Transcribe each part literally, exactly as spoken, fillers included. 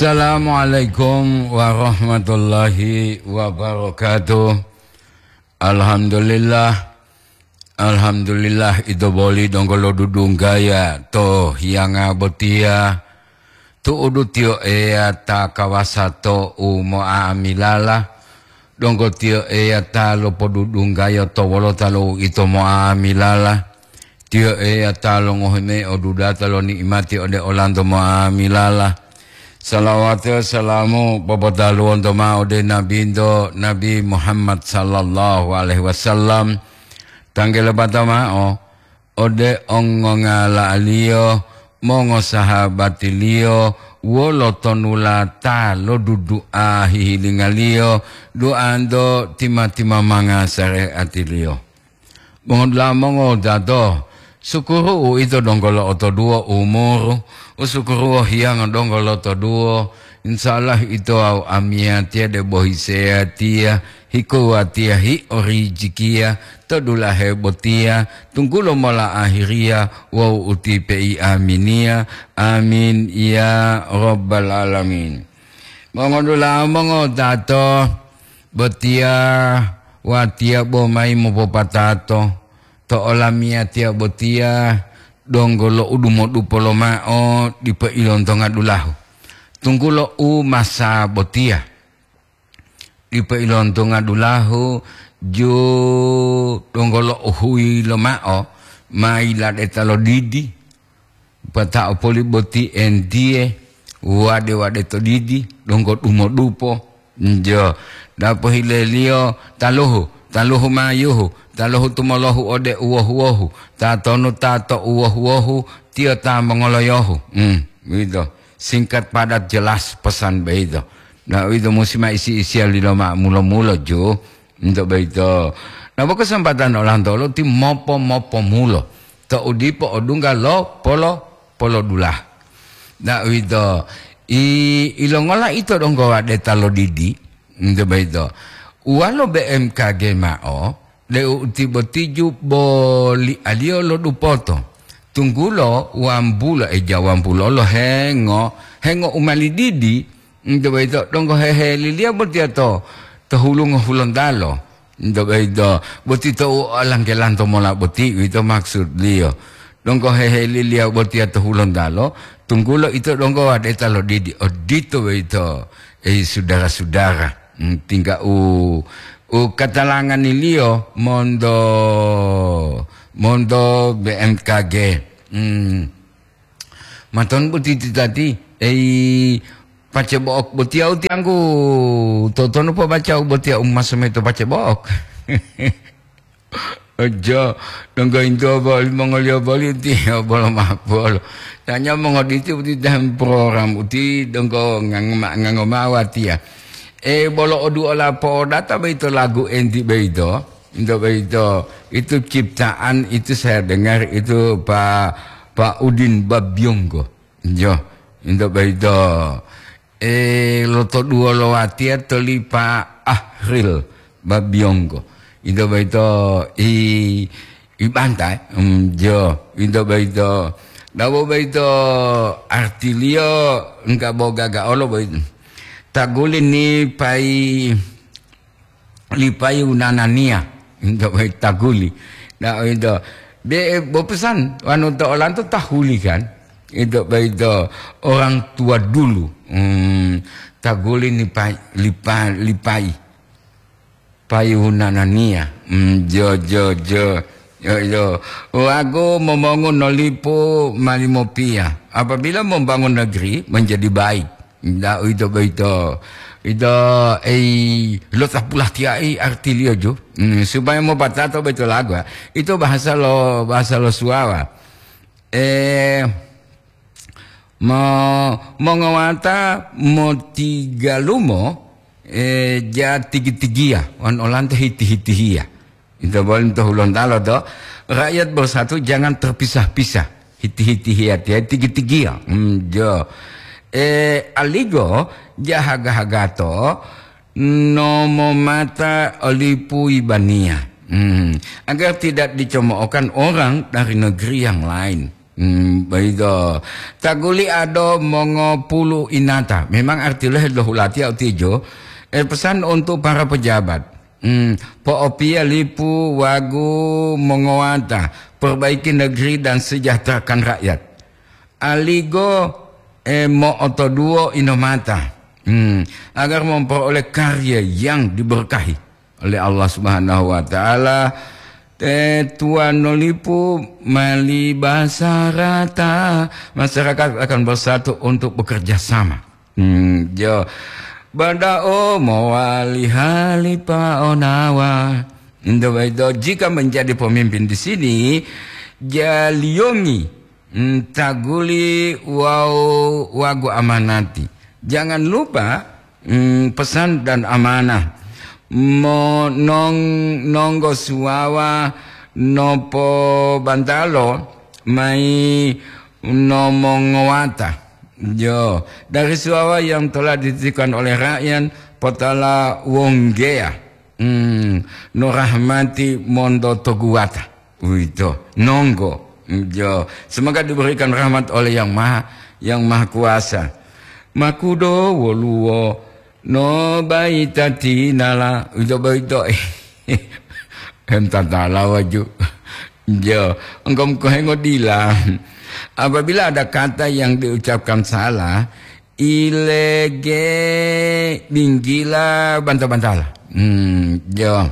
Assalamualaikum warahmatullahi wabarakatuh. Alhamdulillah. Alhamdulillah, ito boli donggo lodudunggaya to hiyanga botiya. Tu'udu Tiyo Eya ta kawasa to u mo'amilala. Donggo Tiyo Eya ta lopodudunggayo to wolota lo uito mo'amilala. Tiyo Eya ta longohi mayi odudata lo ni'imati ode olanto mo'amilala. Salawati wawu salamu popotaluwonto ma'o ode Nabinto, Nabi Muhammad sallallahu alaihi wasallam. Tanggele bata ma'o ode ongongala'aliyo, mongosahabatiliyo, wolo tonulata lo dudu'a hihilingaliyo, du'anto tima-timamanga sare'atiliyo. Mongodula'a mongodato, sukuru uwito donggo lo'otoduwo umuru, u sukuru wohiyanga donggo lotoduwo, insya Allah ito wawu amiyatiya debo hiseyatiya, hikowatiya, hiorijikiya, to dulahe botiya, tunggulo mola ahiriya wawu utipe'i aminiya. Amin ya rabbal alamin. Mongodula'a mongodato, botiya watiya bo mayi mopopatato to olamiyatiya botiya, donggo lo udumodupo lomao dipo ilontonga dulahu. Tunggulo u masa botiya dipo ilontonga dulahu, ju donggo lo uhuyi lomao mayi ladeta lo didi, pata'o poli boti entiye, wade-wade to didi, donggo dumodupo. Njo, dapo hileliyo taluhu, taluhu mayuhu, taluhu tumolohu ode uwohu-wohu, tatonu ta to uwohu-wohu, tiyo ta mongoloyohu. Hmm, begitu. Singkat, padat, jelas pesan begitu. Nah, itu musi ma isi-isiya lilo ma mulo-mulo ju. Nto boyito. Nabo kesempatan olantolo ti mopo-mopomulo, to'u dipo odungga lo polo-, polodulah. Nda uwito, i-, ilongola ito donggo wadeta lo didi? Nto boyito. Uwalo B M K G mao, deu uti botiju bolialiyo lo dupoto. Tunggulo wambulo, eja wambulo lo hengo, hengo u mali didi, nto boyito donggo heheliliyo botiya to, to hulungo Hulontalo. Nto boyito, boti tou olanggelanto mola boti, uwito maksudliyo. Donggo heheliliyo botiya to Hulontalo, tunggulo ito donggo wadeta lo didi. Odito boyito, ei sudara-sudara. Hmm, tingga u, u katalanganiliyo monto, monto B M K G. Hmm. Maton boti titati, ei, pace bo'ok botiya utiangku, totono pobaca u botiya u maso mayi to pace bo'ok. Ojo, donggo intuwa boli mongoliyo boli utiya bolo mapolo. Tanya mongoditi uti dahem program uti donggo ngango ma-, ngango ma'o watiya. E, bolo oduola po'odata boyito lagu enti boyito, into boyito, itu ciptaan itu saya dengar itu Pa-, Pak Udin Babiyonggo. Njo, into boyito, e, lotoduwolo watiya to li Pa Ahril Babiyonggo. Into boyito i, i bantai, mm, jo, into boyito. Dabo boyito artiliyo engka bo gaga olo boyito. Taguli ni pai lipayi wunananiya, into boyito taguli. Na, into, be, bopesan, wanu to olanto tahuli kan? Into boyito orang tua dulu. Hmm, taguli ni pai, lipa-, lipayi. Payi wunananiya. Hmm, jo, jo, jo. Yo, yo. Wagu momongu nolipu mali mopiya. Apabila membangun negeri menjadi baik. Nda uwito boyito. Ito, ei, lo tapulatiya'i artiliyo ju. Hmm, supaya mopatato boyito lagu, ya. Ito bahasa lo, bahasa lo Suwawa. Eh, mo-, mongowata motigalumo, eh, ja tigi-tigiya, wan olanto hiti-hitihiya. Ito boli to Hulontalo to, rakyat bersatu jangan terpisah-pisah. Hiti-hitihiya tiya tigi-tigiya. Hmm, jo. Eh, aligo jahaga-hagato nomomata olipu ibaniya. Hmm. Agar tidak dicomookan orang dari negeri yang lain. Hmm, begitu. Taguli ado mongopulu inata. Memang arti lo helohulatiya utijo. Eh, pesan untuk para pejabat. Hmm, po'opiya lipu wagu mongowata. Perbaiki negeri dan sejahterakan rakyat. Aligo, eh, mo'otoduwo inomata. Hmm, agar memperoleh karya yang diberkahi oleh Allah Subhanahu wa Ta'ala. Te tuan nolipu mali basarata, masyarakat akan bersatu untuk bekerja sama. Hmm, jo. Bada'o mowali halipa onawa. Indo baito, jika menjadi pemimpin di sini, jaliyongi, hmm, taguli wawu wagu amanati. Jangan lupa, hmm, pesan dan amanah. Mo-, nong-, nonggo suwawa nopobantalo mayi nomongowata. Jo, dari suwawa yang telah dititipkan oleh rakyat, potala wonggeya. Hmm, no rahmati monto toguwata. Uwito, nonggo. Jo, semoga diberikan rahmat oleh Yang Maha, Yang Maha Kuasa. Makudo woluwo no baita tinala. Uwito boyito. Hem tatala waju. Jo, engkom kohengo dila. Apabila ada kata yang diucapkan salah, ilege, binggila, banta-bantala. Hmm, jo.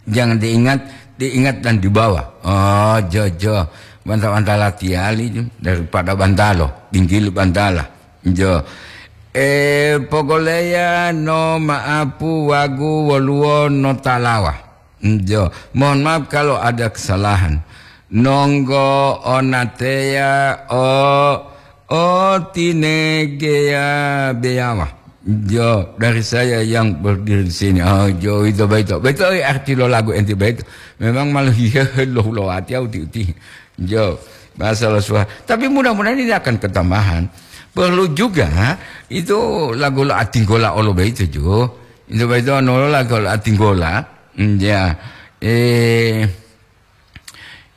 Jangan diingat, diingat dan dibawa. Oh, jo, jo. Banta-bantala tiyali jo, daripada bantalo, binggili bantala. Jo. Eh, pogoleya no maapu wagu woluwo no talawa. Jo. Mohon maaf kalau ada kesalahan. Nonggo onateya o, o tinegeya beyawa. Jo, dari saya yang berdiri di sini. Oh, jo, itu baito. Baito, eh, arti lo lagu enti baito. Memang malah hihehe lo hulowati uti-uti. Jo, bahasa lo suah. Tapi mudah-mudahan ini akan ketambahan. Perlu juga itu lagu lo atinggola olo baito jo. Itu baito no lagu lo atinggola. Hmm, ya. Eh,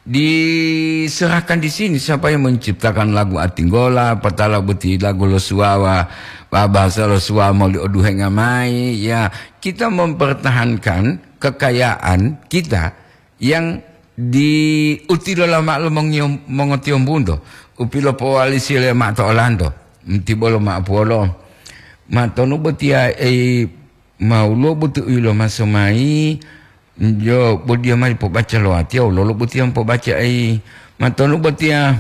diserahkan di sini siapa yang menciptakan lagu Atinggola, patala boti lagu lo suwawa, bahasa lo suwawa moli oduhenga mai, ya, kita mempertahankan kekayaan kita yang diutilola ma'o lo mongiyo-, mongotiyombunto, upilopowalisi le ma'o to olanto, tibolo ma'o puwolo. Matonu botiya ei Mawulo botu u yilomaso mayi, jo, bo diya mali pobaca lo watiya, wololo botiya mopobaca ai matonu botiya?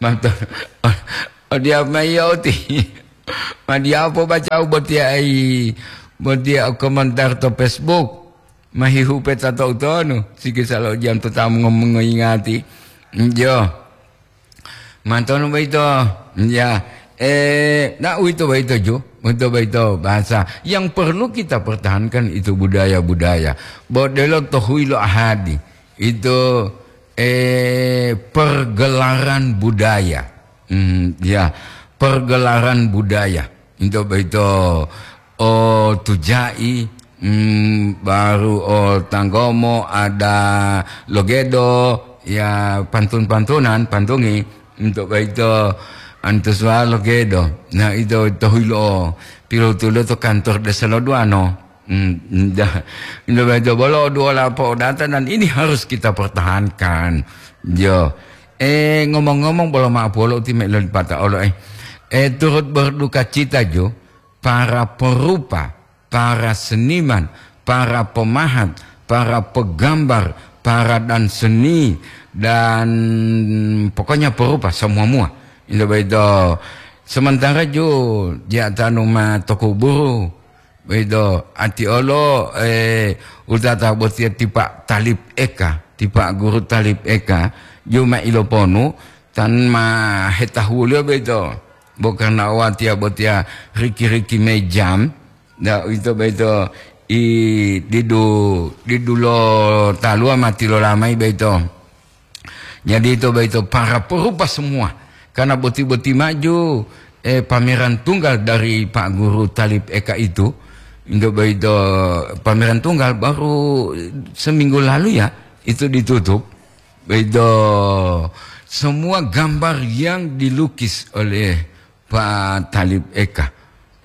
Mato-, odiya mayi oti. Ma diya pobaca u botiya ai, botiya o komentar to Facebook. Mahihupe tato utonu, sikisa lo jam to tamu ngom-, ngoyingati. Jo. Mantonu boyito, ya, eh, na uwito boyito ju, uwito boyito bahasa. Yang perlu kita pertahankan itu budaya-budaya. Bo delo to huyi lo ahadi, itu, eh, pergelaran budaya. Hmm, ya, pergelaran budaya. Into boyito o tujai, mm, baru o tanggomo, ada logedo, ya, pantun-pantunan, pantungi, into boyito antuswa logedo. Nah, ito tohilo pilotulo to kantor desa lo duano. Hmm, dah. Into boyito bolo duola po data dan ini harus kita pertahankan. Jo. Eh, ngomong-ngomong, bolo ma'o polo uti me lolipata olo, eh. Eh, turut berduka cita jo para perupa, para seniman, para pemahat, para pegambar, para dan seni, dan pokoknya perupa semua-mua. Into boyito. Sementara jo dia tanu ma tokuburu, boyito, ati olo, eh, utata botiya tipa Talib Eka, tipa guru Talib Eka, ju ma iloponu, tan ma hetahuliyo boyito. Bo karna watiya botiya riki-riki mejam, da uwito boyito i didu, didu lo taluwa ma tilola mayi boyito. Jadi, ito boyito para perupa semua. Karena boti-boti maju, eh, pameran tunggal dari Pak Guru Talib Eka itu, itu boyito pameran tunggal baru seminggu lalu ya, itu ditutup. Boyito semua gambar yang dilukis oleh Pak Talib Eka.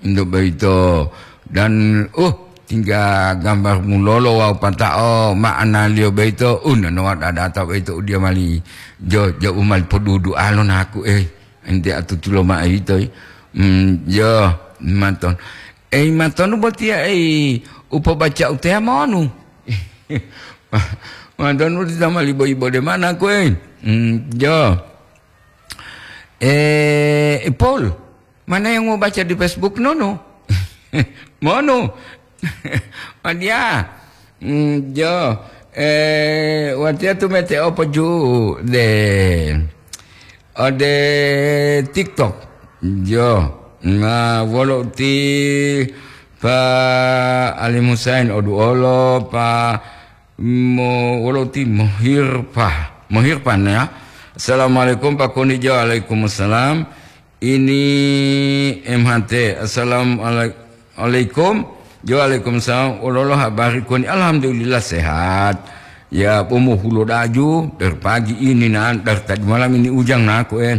Untuk begitu, dan, uh, tinggal gambar mulolo wawu pata'o ma'analiyo beito, uh, nanowa dadata beito udiya mali jo, jo u mali podudualo naku, eh, enti atutulo ma'o yito, eh. Hmm, jo, maton. Eh, matonu botiya, eh, upobaca uteya monu. Matonu uti sama libo-ibo de mana kue? Hmm, jo. Eh, Paul, mana yang mau baca di Facebook nono? Monu. Madia. Hmm, jo. Eh, watia tu mete opo ju de. Ode TikTok. Jo. Nah, wolo ti Pa Ali Musain odu olo, Pa mo, wolo ti Mohirpa. Mohirpan ya. Assalamualaikum Pak Kunijo. Waalaikumsalam. Ini M H T. Assalamualaikum. Jo, waalaikumsalam. Wololo habari koni? Alhamdulillah sehat. Ya, pomo hulo daju dari pagi ini nan dari tadi malam ini ujang naku en.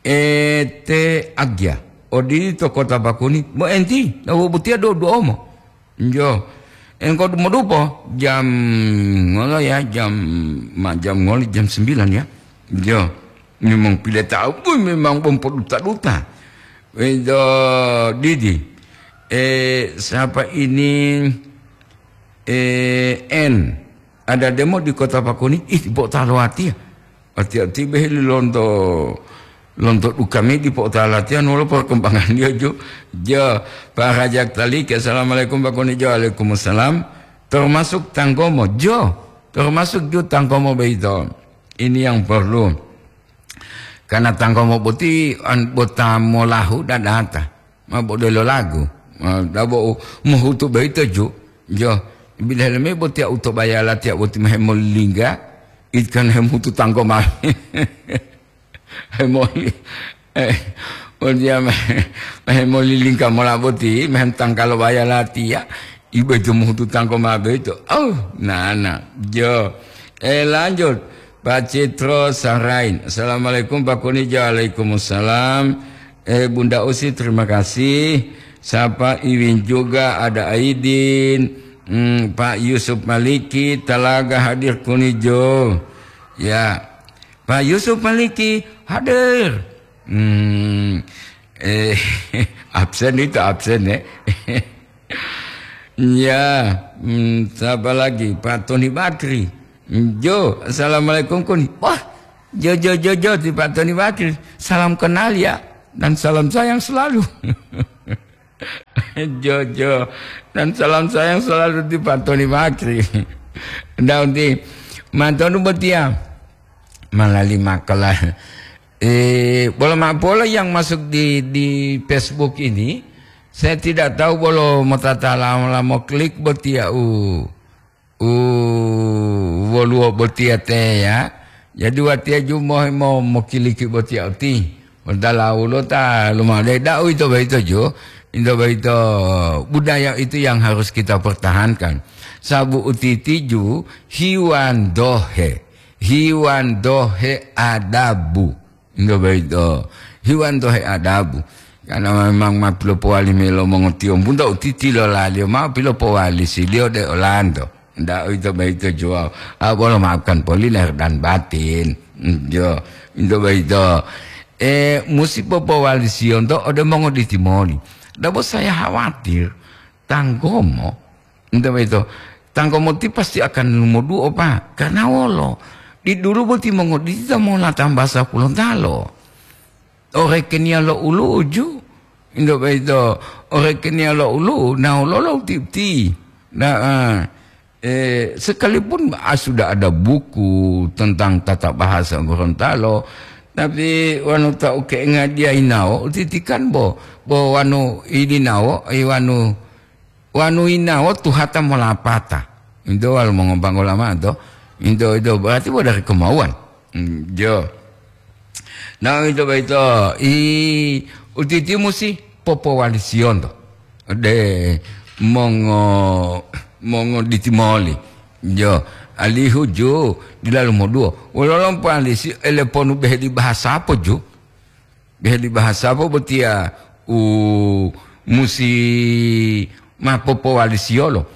Ete agia. Odi to kota Bakuni. Bo enti, na wo butia do duomo. Jo. Engko modupo jam ngolo ya, jam ma jam ngolo jam sembilan ya. Jo. Memang pile tahu pun memang bom poduta-duta. Wedo Didi. Eh, siapa ini? Eh, N. Ada demo di Kota Pakuni. Ih, bo talo atia. Ati-ati beheli lonto, lonto dukami di po talo atia nolo perkembangan dia jo. Jo, Pak Rajak Talik, assalamualaikum Pak Kuni jo, waalaikumsalam. Termasuk tanggomo, jo. Termasuk jo tanggomo beito. Ini yang perlu. Karena tanggomo boti an-, bota molahu dadata. Ma bodelo lagu. Ma dabo u-, mohutu boyito ju. Jo, bilaheleme botiya utobaya latiya boti mahemolingga, ikan hemutu tanggo mami. Hemoli-, eh, botiya ma-, mahemolilingga mola boti, mahem tangkalo baya latiya, iboyito mohutu tanggo ma boyito. Oh, nana, jo. Eh, lanjut. Pak Citro Sarain. Assalamualaikum, Pak Kunijo. Waalaikumsalam. Eh, Bunda Usi, terima kasih. Sapa Iwin juga, ada Aidin. Hmm, Pak Yusuf Maliki, Talaga hadir Kunijo. Ya. Pak Yusuf Maliki hadir. Hmm, eh, absen itu absen ya. Ya, hmm, siapa lagi? Pak Tony Bakri. Hmm, Jo, assalamualaikum Kuni. Wah, Jo, Jo, Jo, Jo, di Pak Tony Bakri. Salam kenal ya, dan salam sayang selalu. Jo, Jo, dan salam sayang selalu di Pak Tony Bakri. Daun di Mantonu Botia. Malali makala. Eh, bola mapola yang masuk di, di Facebook ini, saya tidak tahu bolo motata lama-lama klik botia u, u woluwo botia te ya. Jadi watia ju mo, mo, mokiliki botia uti. Modala ulo ta lumade da'u ito baito ju. Ito baito budaya itu yang harus kita pertahankan. Sabu utiti ju hiwan dohe. Hiwan dohe adabu. Ndo boyito, hiwan to headabu. Karena memang ma pilopowali melo mongotiyombu nto utiti lolaliyo mao pilopowali siliyo de olanto. Nda uwito boyito juwawu. Ah, bolo maafkan poli lahir dan batin. Mm, jo, nto boyito. Eh, musi popowali siyonto ode mongoditi moli. Dabo saya khawatir tanggomo Nte boyito, tanggomo ti pasti akan lumoduo, Pak. Karena wolo? Di dulu boti mongoditi ta mola tambasa Hulontalo. Orekeniya lo ulu'u ju. Nte boyito, orekeniya lo ulu'u, nawu lolo uti-uti. Nah, eh, sekalipun, ah, sudah ada buku tentang tata bahasa Gorontalo, tapi wanu ta uke ngadiya inawo, utitikan bo, bo wanu idinawo, eh, wanu Wanu yinawo tuhata molapata. Into walo mongombango lama to. Into, into berarti bo dari kemauan. Hmm, jo. Nah, into boyito, i, utiti musi popowali siyonto. De mongo, mongo ditimoli. Jo. alihu ju dilalu moduwo. Wololo po alisi ele ponu behe di bahasa po ju? Behe di bahasa po botiya u musi ma popowalisiyolo.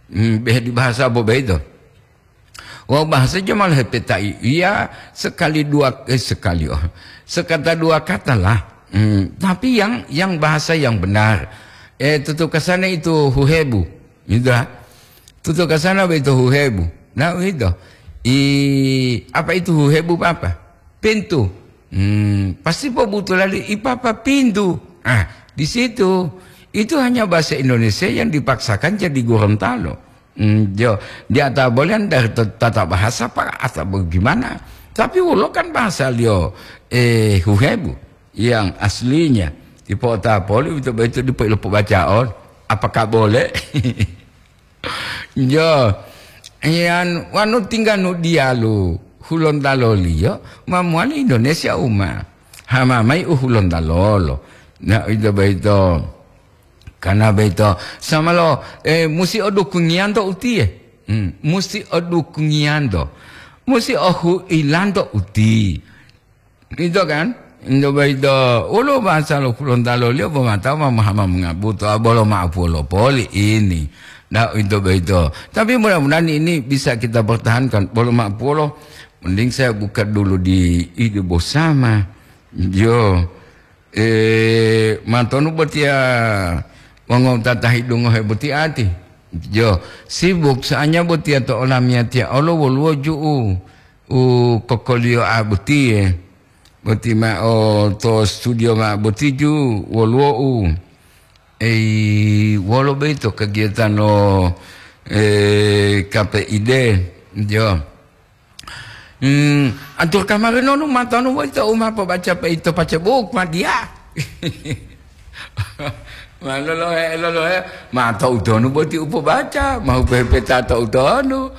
Hmm, behe di bahasa po beito. Wawu bahasa jo ma lohepetai iya sekali dua, eh, sekali, oh, sekata dua kata lah. Hmm, tapi yang, yang bahasa yang benar. Eh, tutu kasane itu huhebu. Gitu, ha? Tutu kasana boyito huhebu. Nah, uwito. I, apa itu huhebu, Papa? Pintu. Hmm, pasti pobutu lali, "I, Papa, pintu." Ah, di situ. Itu hanya bahasa Indonesia yang dipaksakan jadi Gorontalo. Hmm, jo, dia tak boleh dari t-, tata bahasa, Pak, atau bagaimana. Tapi ulo kan bahasa liyo, eh, huhebu yang aslinya. Dipotapoli, uwito boyito dipo-, dipobacaon. Apakah boleh? Jo, iyan wanu tingganu diyalu Hulontalo liyo, ma mowali Indonesia uma. Hama mayi u Hulontalo lo. Na, ito boyito. Kana boyito. Sama lo, eh, musi o dukungiyanto utiye. Hmm, musi o dukungiyanto. Musi o huilanto uti. Ito kan? Ito boyito, wolo bahasa lo Hulontalo liyo bo matawa ma-, ma-, mongabuto, a, bolo ma'apuwolo poli ini. Nah, ito boyito. Tapi mudah-mudahan ini bisa kita pertahankan. Bolo ma'apuwolo, mending saya buka dulu di Ide Bosama. Yo, eh, matonu botiya wongowutata hidungohe boti ati. Yo, sibuk, soalnya botiya to olamiyatiya olo woluwo ju'u u kokoliyo a botiye. Boti ma'o to studio ma'o boti ju woluwo u. Ei, wolo boyito kegiatan lo, eh, K P I D? Jo. Hmm, atur kamari nonu matonu boyito u ma pobaca peito pace buku ma diya. Ma lolohe, lolohe, ma to'utonu boti u pobaca, ma u pepeta to'utonu.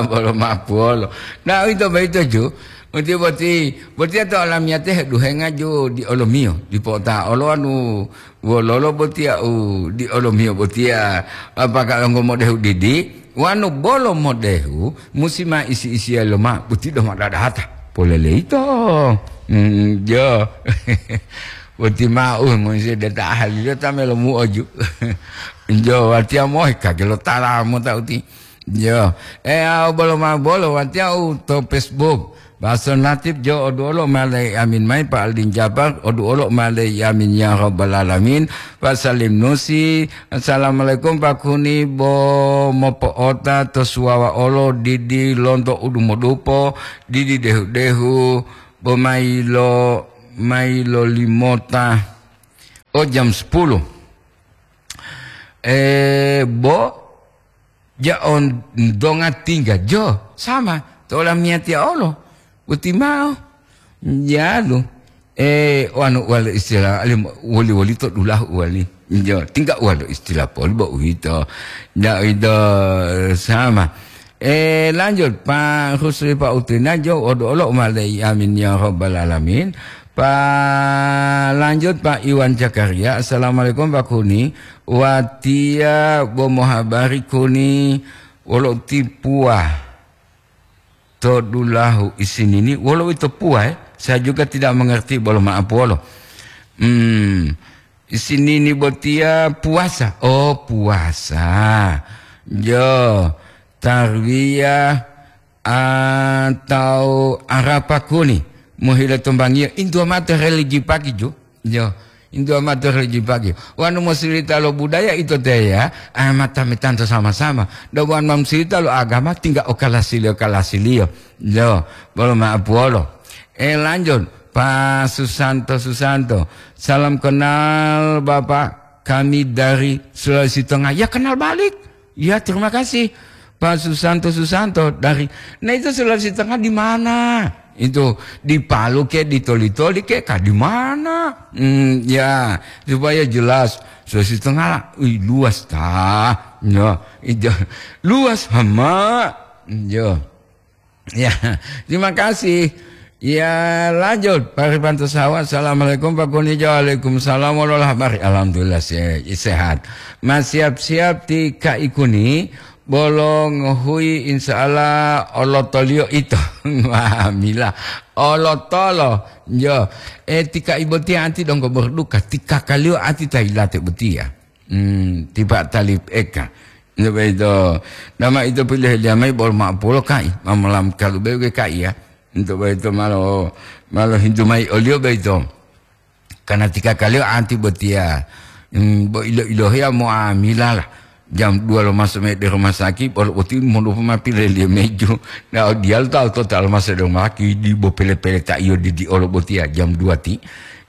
Bolo mapuolo. Nah, uwito boyito ju, uti boti, botiya to olamiyate heduhenga ju di olomiyo, dipo ta olo anu wololo botiya u di olomiyo botiya, apakah longgo modehu didi, wanu bolo modehu, musi ma isi-isiya loma, boti doma dadahata. Poleleito. Hmm, jo. Boti mau, musi deta ahli, deta melomu oju. Jo, watiya mohe kagelo tala mota uti. Jo. Eh, au bolo ma bolo, watiya u to Facebook. Baso Natib jo oduolo malai amin mai Pak Aldin Jabar, oduolo malai amin ya rabbal alamin. Pak Salim Nusi, assalamualaikum Pak Kuni, bo mopo'ota to suwawa olo didi lonto udumodupo, didi dehu-dehu, bo mailo, mailo limota. Oh, jam sepuluh. Eh, bo, ja on donga tingga jo, sama, to olamiyatiya olo, uti mao, jalu, eh, wanu wali istilah, alim, woli-woli to dulahu wali, jo, tingga walo istilah poli bo uwito, ja uwito, sama. Eh, lanjut, Pak Husri, Pak Utina, jo, odo olo umalei, amin ya rabbal alamin. Pak, lanjut, Pak Iwan Zakaria, assalamualaikum Pak Kuni. Watiya bo mohabari kuni wolo tipuwa to dulahu isinini, wolo uwito puwa, eh? Saya juga tidak mengerti, bolo maaf wolo. Hmm, isinini botiya puasa. Oh, puasa. Jo, tarwiyah atau Arapa kuni, mohile tombangiyo, intuwa mao to religi pagi ju. Jo, intuwa mao to religi pagi. Wanu mosilita lo budaya ito teya, ah, mata metanto sama-sama. Do wanu mosilita lo agama, tingga okalasiliyo-kalasiliyo. Jo, bolo maaf wolo. Eh, lanjut, Pak Susanto, Susanto. Salam kenal, Bapak. Kami dari Sulawesi Tengah. Ya, kenal balik. Ya, terima kasih. Pak Susanto Susanto dari, nah, itu Sulawesi Tengah di mana? Itu di Palu ke, di Toli-Toli ke, kah di mana? Hmm, ya, supaya jelas. Sulawesi Tengah, wih, luas ta. Ya, itu luas hama. Ya. Ya, terima kasih. Ya, lanjut. Pak Rifanto Sawa, assalamualaikum Pak Kuni. Waalaikumsalam, wololah habari? Alhamdulillah, se-, sehat. Mas siap-siap ti Kak Ikuni, Bolo ngohuyi, insya Allah, olotoliyo ito. Wah, mila. Olotolo. Yo. E, tika ibotiya anti donggo berduka. Tika kaliyo anti ta yilate botiya. Hmm, tipa talip eka. Nto boyito. Nama ito pilohe liya mayi bolo ma'o pulo kai. Mamolam kalu bewe kai ya. Nto boyito malo, malo hintu mayi oliyo boyito. Karena tika kaliyo anti botiya, hmm, bo ilo-ilohiya mo'amila lah. Jam dua lomaso mayi de rumah sakit, bolo boti modupu ma pileliyo meju. Na diyalu tawu to ta lomaso de rumah sakit, dibo pele-pele ta iyo didi olo botiya jam dua ti.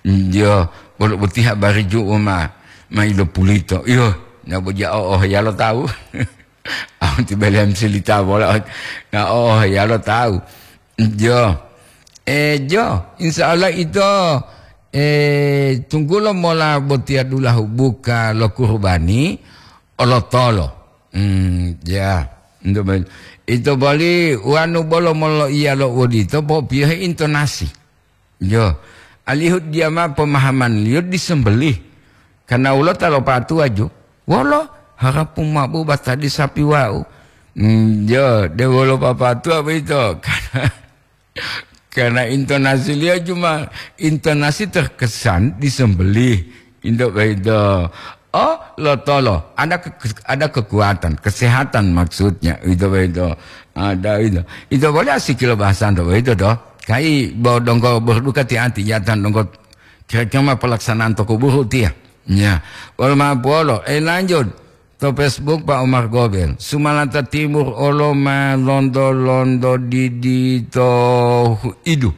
Yo, bolo boti habari ju'u ma, ma ilo pulito. Iyo, na bo ja o, o heyalo tawu. Awu ti belem silita bola. Na o, o heyalo tawu. Jo. Eh, jo, insya Allah ito, eh, tunggulo mola botiya dulahu buka lo kurubani, olotolo. Hmm, ya. Ito bol-, ito boli wanu bolo molo iya lo wodito, popiyohe intonasi. Jo. Alihu diyama pemahamanliyo disembelih. Karena ulo ta lopatuwa ju. Wolo harapu mabu batadi sapi wau. Hmm, jo, de wolo papatuwa boyito. Karena Karena intonasiliyo cuma intonasi terkesan disembelih. Into boyito. Oh, lotolo. Ada ke-, ada kekuatan, kesehatan maksudnya. Itu boyito. Ada itu. Itu boleh asikilo bahasan to boyito to. Kai bo donggo berduka ti anti jatan donggo kira-kira ma pelaksanaan to kuburu tiya. Ya. Wolo ma polo. Eh, lanjut. To Facebook, Pak Omar Gobel, Sumalanta Timur olo ma londo-londo didi to hu-, idu.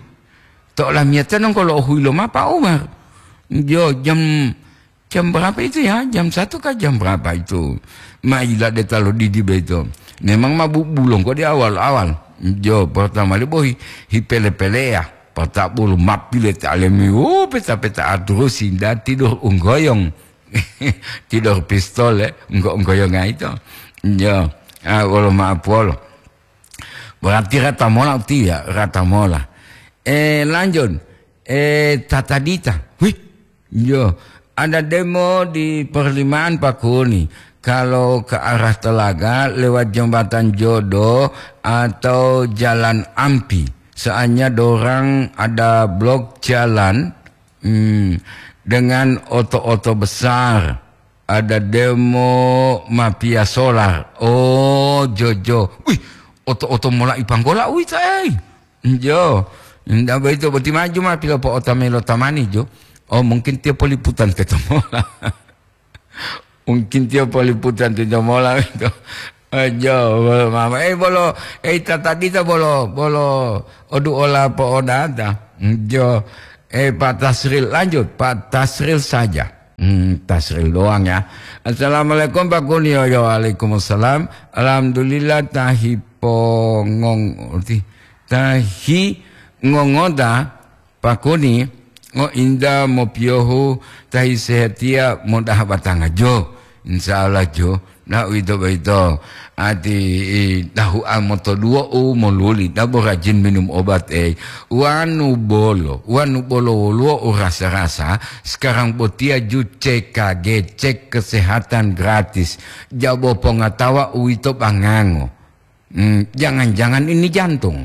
To olamiyatiya nongko lo huyi loma, Pak Omar? Jo, jam, jam berapa itu ya? Jam satu kah jam berapa itu? Ma yilade ta lo didi boyito. Memang ma bu-, bulongko di awal-awal. Jo, pertama li bohi, hipele-peleya. Pata bulu ma pile ta alemi, wo, peta-peta aturusi, nda tidur unggoyong. Tidur pistol, eh, enggo-, enggoyonga ito. Yo, ah, wolo ma'o puwolo. Berarti rata mola utiya, rata mola. Eh, lanjut. Eh, tatadita. Wih, yo, ada demo di perlimaan Pakuni. Kalau ke arah Telaga, lewat Jembatan Jodo atau Jalan Ampi. Soalnya dorang ada blok jalan Hmm, dengan oto-oto besar, ada demo mafia solar. Oh, jojo. Wih, oto-oto mola ipanggola uwito, ei. Jo. Nda boyito boti maju ma pilopo'ota melo tamani, jo. Oh, mungkin tiyo poliputan teto mola. Mungkin tiyo poliputan to jomola ito. Eh, jo, bolo mama. Eh, bolo, eh, tatadita bolo, bolo odu ola po'odata. Jo, eh, Pak Tasril, lanjut, Pak Tasril saja. Hmm, Tasril doang ya. Assalamualaikum, Pak Kuni. Yo, yo, waalaikumsalam. Alhamdulillah, tahi pongong, ti-, tahi ngongoda. Pakuni, ngointa mopiyohu tahi sehatiya modaha batanga jo. Insya Allah jo. Na uwito boyito. Ati, i, dahu'a motoduwo'u moluli, dabo rajin minum obat, ei. Wanu bolo, wanu bolo woluwo u rasa-rasa, sekarang botiya ju C K G, cek kesehatan gratis. Jabo pongatawa uwito bangango. Hmm, jangan-jangan ini jantung.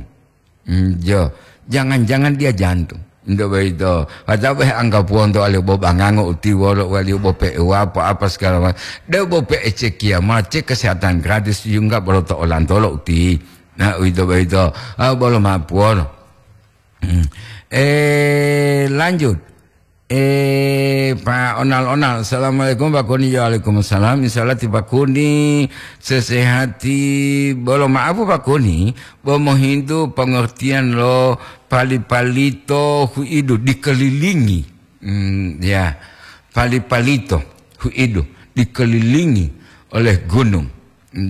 Hmm, jo, jangan-jangan dia jantung. Nto boyito. Kata weh angga puwonto wali bo bangango utiwolo wali bo pe wapo apa segala macam. De bo pe ecekiya ma cek kesehatan gratis yungga bolo to olantolo uti. Nah, uwito boyito. Ah, bolo ma puwolo. Hmm. Eh, lanjut. Eh, Pak Onal-onal. Assalamualaikum, Pak Kuni. Waalaikumsalam. Insya Allah ti Pak Kuni sesehati. Bolo maaf, Pak Kuni, bo mohintu pengertian lo pali-palito huidu dikelilingi. Hmm, ya. Pali-palito huidu dikelilingi oleh gunung.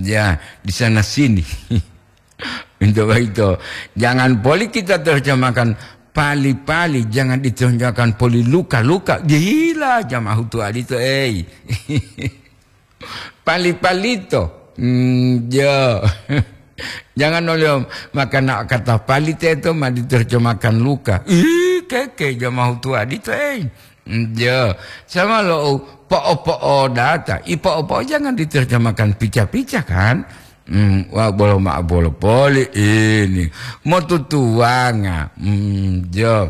Ya, di sana sini. Pintu boyito. Jangan poli kita terjemahkan pali-pali, jangan diterjemahkan poli luka-luka. Gila, jamaah hutu adito, ei. Pali-palito. Hmm, jo. Jangan oleh makana kata pali teto ma diterjemahkan luka. Ih, keke jamaah hutu adito, ei. Hmm, jo. Sama lo po'o-po'o data. I po'o-po'o jangan diterjemahkan pica-pica, kan? Hmm, wah, bolo ma'o bolo poli ini. Motutuwanga. Hmm, jo.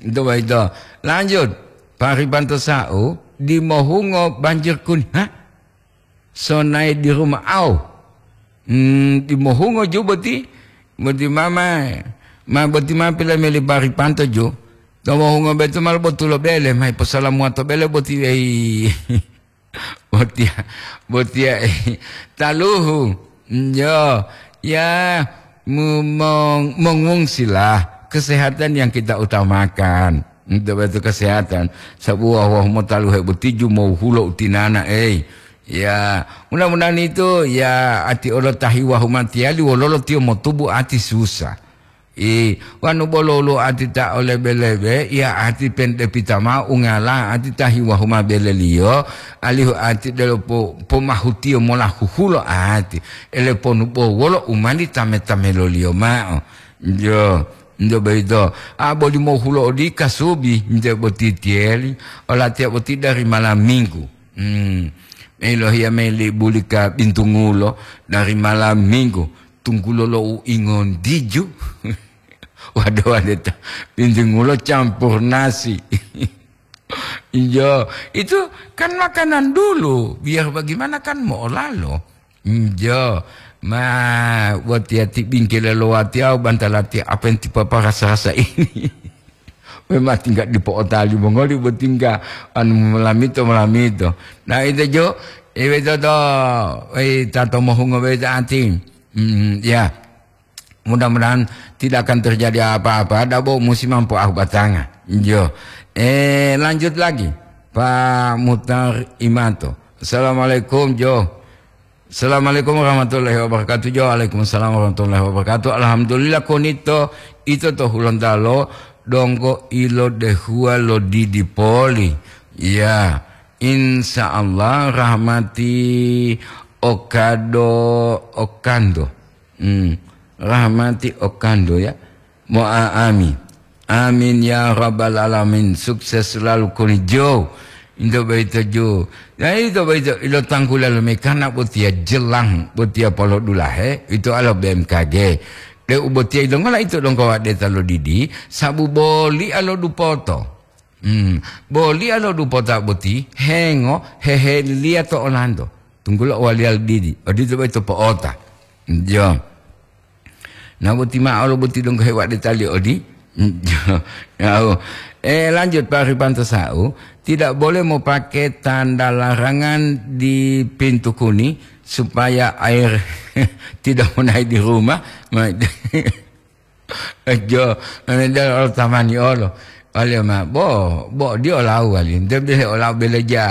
Itu baito. Lanjut. Paribanto sa'u, dimohungo banjir kuni. Hah? Sonae di rumah au. Hmm, dimohungo ju boti. Boti mama. Ma boti ma pila meli paribanto ju. Tomohungo betu mal botulo bele. Mai posalamuwa to bele boti wei. Botiya, botiya, taluhu. Njo, ya, mu-, mong-, mongungsilah. Kesehatan yang kita utamakan. Untuk itu kesehatan. Sabu wahu-wahu motaluhe boti ju mohulo utinana, ei. Ya, mudah-mudahan itu, ya, ati olo tahi wahu matiyali wololo tiyo motubu ati susah. I, wanu bolo woluwo ati ta o lebe-lebe, iya ati pente pita mao ungala ati ta hiwa huma beleliyo, alihu ati delo po-, pomahutiyo mola huhulo ati, ele ponu bo wolo u mali tame-tameloliyo mao. Njo, njo boyito, a boli mohulo odi kasubi, nje boti tiyeli, olatiya boti dari malam minggu. Hmm, meilohiya meli bulika bintungulo dari malam minggu. Tunggulo lo u ingontiju. Waduh, waduh, ta-, bintungulo campur nasi. Iyo, itu kan makanan dulu, biar bagaimana kan mo'olalo. Iyo, ma, watiya ti bingkele lo watiya, bantalati apa yang tipa parasa-rasa ini. Memang tinggal dipo'otali mongoli, bo tinggal anu molamito, molamito. Nah, itu jo, iwe toto, eh, tato mohungo beta ati. Hmm, ya. Mudah-mudahan tidak akan terjadi apa-apa. Dabo musim mampu ah batanga. Jo. Eh, lanjut lagi. Pak Mutar Imanto. Assalamualaikum, Jo. Assalamualaikum warahmatullahi wabarakatuh. Jo, waalaikumsalam warahmatullahi wabarakatuh. Alhamdulillah, konito ito to Hulontalo donggo ilo dehuwa lo didi poli. Ya, insya Allah rahmati okado okando. Hmm, rahmati okando ya. Mo'a amin. Amin ya rabbal alamin. Sukses selalu koni Jo. Into boyito Jo. Ya, ito boyito ilo tangkula lo mekana botiya jelang, botiya polodulahe, ito alo B M K G. De u botiya ito ngola ito dongko wadeta lo didi, sabu boli alo dupoto. Hmm, boli alo dupota boti, hengo, heheliliya to olanto. Tunggulo waliya lo didi, odito boyito po'ota. Jo. Na boti ma'o lo boti donggo hewadetali odi. Yau. Eh, lanjut, Pak Ripanto Sau, tidak boleh mau pakai tanda larangan di pintu kuni supaya air tidak mau naik di rumah. Ma-, jo, ane dal olo tamani olo. Wali ma, bo, bo, di olau wali. Nte bele olau bele ja.